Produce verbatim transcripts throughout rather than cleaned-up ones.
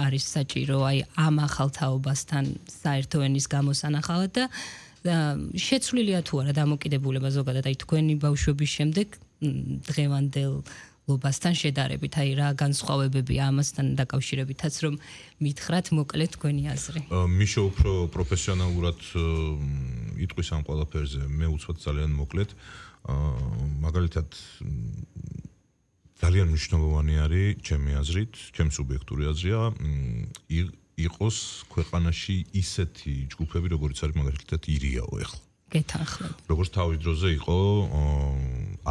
არის საჭირო აი ამ ახალ თაობასთან საერთო ენის გამოსანახავად და შეცვლილია თუ არა დამოკიდებულება ზოგადად აი თქვენი ბავშვობის შემდეგ დღევანდელობასთან შედარებით აი რა განსხვავებები ამასთან დაკავშირებითაც რომ მითხრათ მოკლედ თქვენი აზრი. მიშო უფრო პროფესიონალურად იტყვის ამ ყველაფერზე მე უცბად ძალიან მოკლედ მაგალითად ძალიან მნიშვნელოვანი არის ჩემი აზრით, ჩემი სუბიექტური აზრია იყოს ქვეყანაში ისეთი ჯგუფები, როგორც არის მაგალითად ირიაო ეხლა. გეთანხმები. როგორც თავის დროზე იყო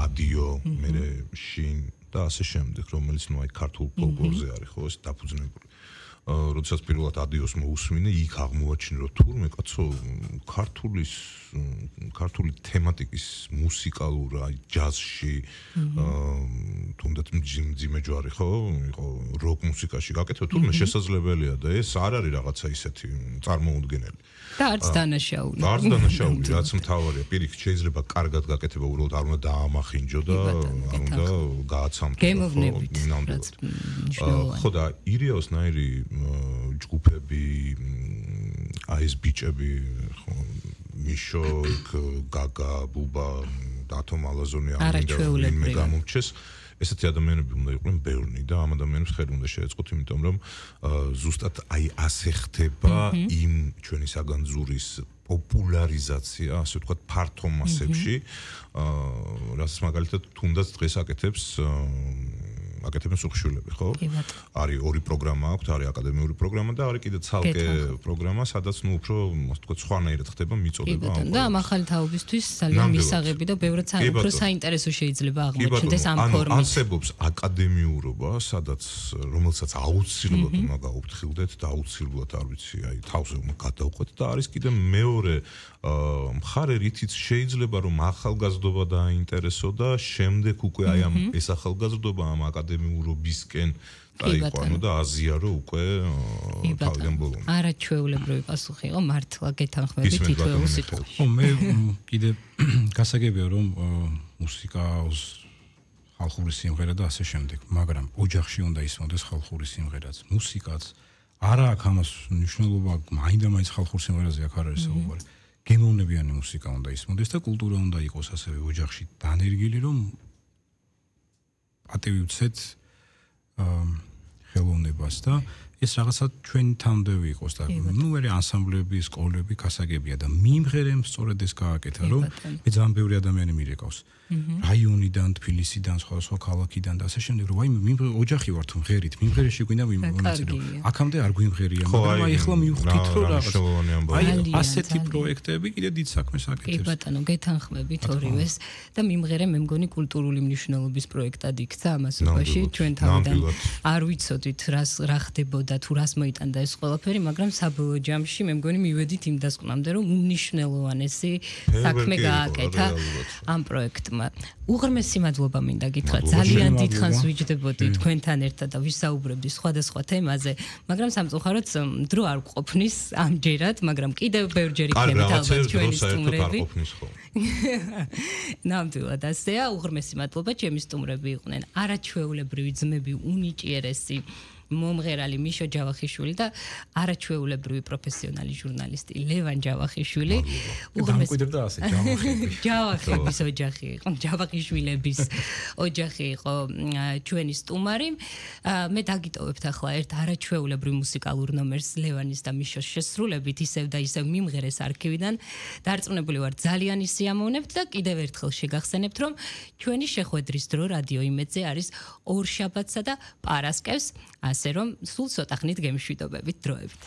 ადიო, მერე შინ და ასე შემდეგ, რომელიც ნუ აი ქართულ ფოლკლორზე არის ხო, ეს დაფუძნებული. როდესაც პირველად ადიოს მოусმინე, იქ აღმოაჩინე რომ თურმე კაცო ქართულის ქართული თემატიკის მუსიკალურ აი ჯაზში თუნდაც მძიმე ჯვარი ხო იყო როკ მუსიკაში გაკეთო თურმე შესაძლებელია და ეს არ არის რაღაცა ისეთი წარმოუდგენელი და არც დანაშაული და არც დანაშაული რაც მთავარია პირიქით შეიძლება კარგად გაკეთება უბრალოდ არ უნდა დაამახინჯო და არ უნდა გააცამთო ხო და ირიაოს ნაირი ჯგუფები აი ეს ბიჭები ხო მიშო გაგა ბუბა დათო მალაზონი ამიტომ მე გამომჩეს ესეთი ადამიანები უნდა იყვნენ ბევრი და ამ ადამიანებს ხელი უნდა შეეწყოთ იმიტომ რომ ზუსტად აი ასე ხდება იმ ჩვენი საგანძურის პოპულარიზაცია ასე ვთქვათ ფართო მასებში რასაც მაგალითად თუნდაც დღეს აკეთებს აკეთებენ სუხშვილები, ხო? არის ორი პროგრამა აქვს, არის აკადემიური პროგრამა და არის კიდე ცალკე პროგრამა, სადაც ნუ უფრო, ასე ვთქვათ, სხვანაირად ხდება მიწოდება ამ. და ამ ახალი თაობისთვის ძალიან მისაღები და ბევრად უფრო საინტერესო შეიძლება აღმოჩნდეს ამ ფორმით. ანუ არსებობს აკადემიურობა, სადაც რომელსაც აუცილებლად უნდა გაუფრთხილდეთ და აუცილებლად არ ვიცი, აი თავზე უნდა გადავყვეთ და არის კიდე მეორე მხარე, რითიც შეიძლება რომ ახალგაზრდობა დააინტერესო და შემდეგ უკვე აი ამ ეს ახალგაზრდობა ამ აკადემიურობისკენ დაიყვანო და აზიარო უკვე თავიდან ბოლომდე. არაჩვეულებრივი პასუხი იყო მართლა გეთანხმებით თითოეულ სიტყვაში. ხო მე კიდე გასაგებია რომ მუსიკას ხალხური სიმღერა და ასე შემდეგ, მაგრამ ოჯახში უნდა ისმოდეს ხალხური სიმღერაც, მუსიკაც არა აქვს ამას მნიშვნელობა მაინდა-მაინც ხალხურ სიმღერაზე აქ არ არის საუბარი. გემოვნებიანი მუსიკა უნდა ისმოდეს და კულტურა უნდა იყოს ასევე ოჯახში დანერგილი რომ პატივი ვცეთ ხელოვნებას და ეს რაღაცა ჩვენი თანმდევი იყოს და ნუ მე ანსამბლები, სკოლები გასაგებია და მიმღერემ სწორედ ეს გააკეთა რომ მე ძალიან ბევრი ადამიანი მირეკავს რაიონიდან, თბილისიდან, სხვა ქალაქიდან და ასე შემდეგ რომ აი მიმღერ ოჯახი ვარ თუ მღერით, მიმღერეში გვინდა მიმღერო. აქამდე არ გვიმღერია, მაგრამ აი ახლა მივხვდით რომ რაღაცა აი ასეთი პროექტები კიდე დიდ საქმეს აკეთებს. კი ბატონო, გეთანხმებით ორივეს და მიმღერე მე მგონი კულტურული მნიშვნელობის პროექტად იქცა ამასობაში ჩვენ თავიდან არ ვიცოდით რას რა ხდებოდა თუ რას მოიტანდა ეს ყველაფერი, მაგრამ საბოლოო ჯამში მე მგონი მივედით იმ დასკვნამდე რომ უნიშნელოვანესი საქმე გააკეთა ამ პროექტმა. უღრმესი მადლობა მინდა გითხრათ. ძალიან დიდხანს ვიჯდებოდი თქვენთან ერთად და ვისაუბრებდი სხვადასხვა თემაზე, მაგრამ სამწუხაროდ დრო არ გვყოფნის ამჯერად, მაგრამ კიდევ ბევრჯერ იქნებით ალბათ ჩვენი სტუმრები. ნამდვილად ასეა, უღრმესი მადლობა, ჩემი სტუმრები იყვნენ არაჩვეულებრივი ძმები, უნიჭიერესი მომღერალი მიშო ჯავახიშვილი და არაჩვეულებრივი პროფესიონალი ჟურნალისტი ლევან ჯავახიშვილი. უღრმესდა ასე ჯავახები. ჯავახების ოჯახი იყო, ჯავახიშვილების ოჯახი იყო ჩვენი სტუმარი. მე დაგიტოვებთ ახლა ერთ არაჩვეულებრივ მუსიკალურ ნომერს ლევანის და მიშოს შესრულებით ისევ და ისევ მიმღერეს არქივიდან. დარწმუნებული ვარ ძალიან ისიამოვნებთ და კიდევ ერთხელ შეგახსენებთ რომ ჩვენი შეხვედრის დრო რადიო იმედზე არის ორ შაბათსა და პარასკევს. ასე რომ სულ ცოტა ხნით გემშვიდობებით დროებით.